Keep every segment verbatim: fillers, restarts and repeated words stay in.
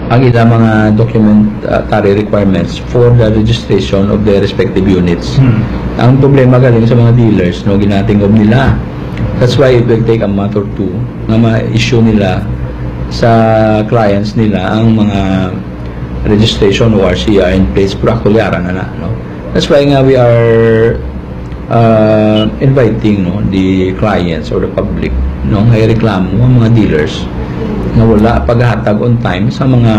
ang ila mga documentary requirements for the registration of their respective units. Hmm. Ang problema galing sa mga dealers, no, ginatingob nila. That's why it will take a month or two nga ma-issue nila sa clients nila ang mga registration o R C R in place, pero actually ara na na, no? That's why nga we are uh, inviting, no, the clients or the public, no, nga reklamo ang mga dealers nga wala paghatag on time sa mga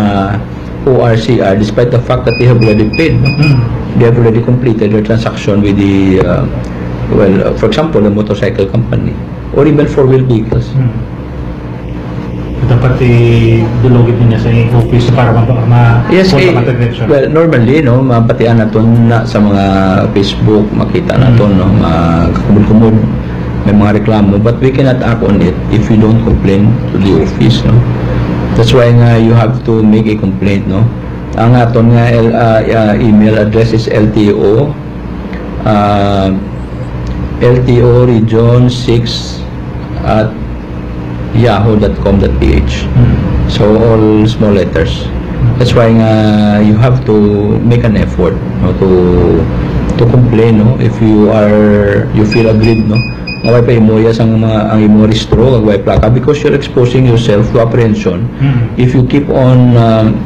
O R C R, despite the fact that they have already paid, no? Hmm. They have already completed their transaction with the, uh, well, uh, for example, the motorcycle company or even four-wheel vehicles. Hmm. Dapat i-dulogit niya sa office para ma-, ma-, Yes, eh, ma-, well, normally, no, mabatian naton na sa mga Facebook, makita naton, no, magkakumod-kumod, may mga reklamo, but we cannot act on it if we don't complain to the office, no. That's why nga you have to make a complaint, no. Ang aton nga L-, ah, ah, email address is L T O, ah, L T O region six at yahoo dot com dot P H. Hmm. So, all small letters. That's why nga you have to make an effort, no, to, to complain, no, if you are, you feel aggrieved, no, nga way pa imo iya sang mga, ang imo rehistro, kag way plaka, because you're exposing yourself to apprehension. Hmm. If you keep on, um,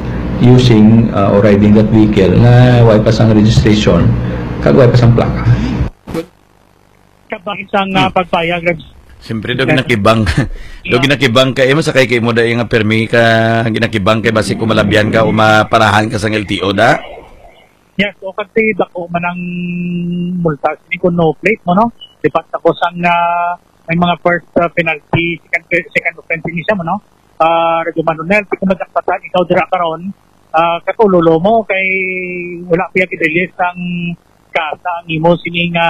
using, uh, or riding that vehicle nga way pa sang registration, kag way pa sang plaka. Kabang sang, ah, Hmm. pagpayag, Reg-, Siyempre, daw Yes. ginakibang. Daw Yeah. ginakibang ka, eh, masakay kay mo dahil nga permi ka, ginakibang kay basi kung malabyan ka o maparahan ka sang L T O da. Yes, o kasi dako man ang multa sini kung no plate mo, no? Lipat ako sang, ah, may mga first, ah, penalty, second, second offense ini siya mo, no? Ah, Radyo Manunel, di ko madakpatan, ikaw dira karon, ah, katulolo mo kay wala pa gid release ang kasa ang imo sini nga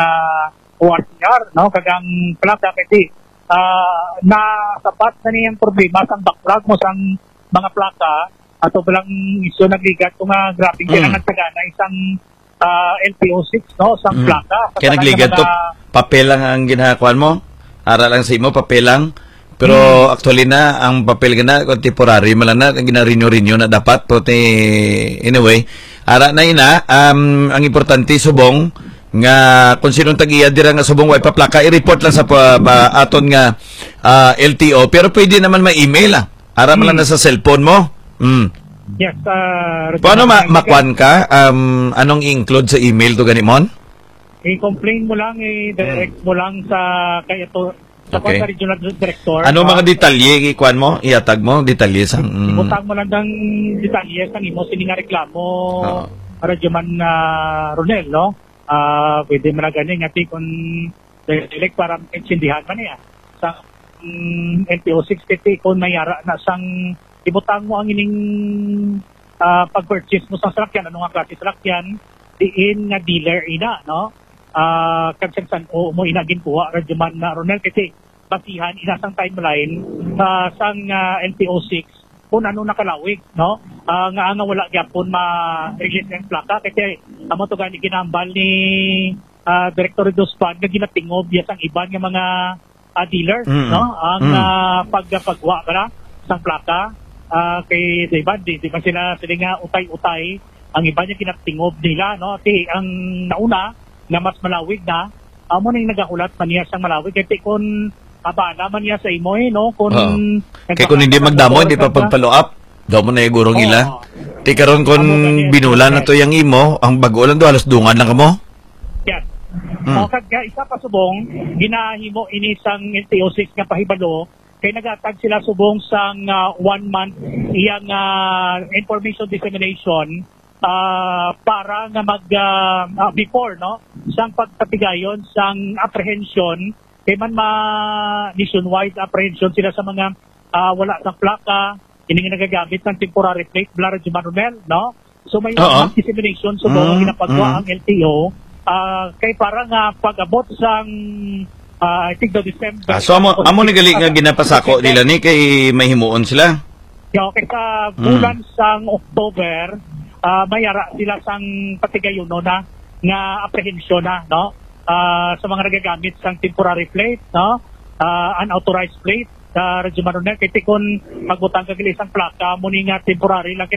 O R C R, no? Kag ang plaka kay di, ah, nasabat na niyang problema sang backlog mo sang mga plaka ato pa lang isyu nagligat ko nga grabe Mm. kailangan sagana isang, ah, L T O six, no? Sang Mm. plaka. Kaya Sa nagligat to, mga papel lang ang ginakuan mo? Ara lang sa imo, papel lang? Pero Hmm. actually na, ang papel gana, kung temporary man lang na, gina-renew-renew na dapat. Pero ti-, anyway, ara na ina, um, ang importante, subong, nga kung sinong tag-iya dira nga subong, way pa plaka, i-report lang sa pa, pa, aton nga, ah, L T O. Pero pwede naman ma-email, ah. Ara man lang Hmm. na sa cellphone mo. Mm. Yes, ah, Paano ma-, Rosita, makuan ka? Um, anong i-include sa email to gani, Mon? I-complain mo lang, i-direct Hmm. mo lang sa kay ato, sa Okay. kwan sa regional director, Ano ah, mga detalye ikuan mo? Ihatag mo detalye sa, mm. Ibutang mo lang ang detalye sa imo sini nga reklamo, Oo. Radyoman, ah, Ronel, no? Ah, pwede man na gani nga ti kung direct para maintindihan man niya sa, mm, N P O six fifty kung may ara na sang ibutang mo ang ining, ah, pag-purchase mo sa salakyan, ano nga klase salakyan, diin nga dealer ina, no? Ah, kag sang san-o mo ina ginkuha, Radyoman na Ronel, kasi basihan ina sang timeline, ah, sang, ah, N P O six kung ano nakalawig, no? Ah, nga, nga wala gyapon ma-release ang plaka kasi amo to gani ginambal ni, ah, Director Duspan nga ginatingob ya sang iban nga mga, ah, dealer, Mm. no? Ang, Mm. ah, pagpagwa ba sang plaka, ah, kay sa iban, di, di man sila, sila nga utay-utay, ang iban nga ginatingob nila, no? Ti ang nauna nga mas malawig na, amo ning nagahulat man niya sang malawig. Kay ti kun abala man niya sa imo, eh, no? Kun Oo. Kay kun hindi magdamo, hindi pa pagpa-follow up. Daw mo na igurong Oo. ila. Ti karon kun Amo gani ang binulan na to yang imo, ang bago lang do, halos dungan lang kamo. Yes. Mm. O, kag, ah, isa pa subong, ginahimo ini sang N T O six nga pahibalo, kay nagatag sila subong sang, ah, one month iyang, ah, information dissemination, ah, para nga mag, ah, ah, before, no, sang pagpatigayon sang apprehension, kay man ma-, nationwide apprehension sila sa mga, ah, wala sang plaka, ini nga nagagamit ng temporary plate, Bla Radyoman Ronel, no? So, may Oo. mass dissemination, so, Mm, ginapagawa mm. ang L T O, ah, kay para nga pag-abot sang, ah, I think the December Ah, so, amo, amo ni gali nga ginapasako nila ni kay may himuon sila. Yeah, okay, sa Mm. bulan sang October, ah, may ara sila sang patigayonon na nga apprehension na, no? Ah, sa mga nagagamit sang temporary plate, no? Ah, unauthorized plate, ah, Radyoman Ronel, kay ti kun magbutang ka gali sang plaka, mo ni nga temporary lang,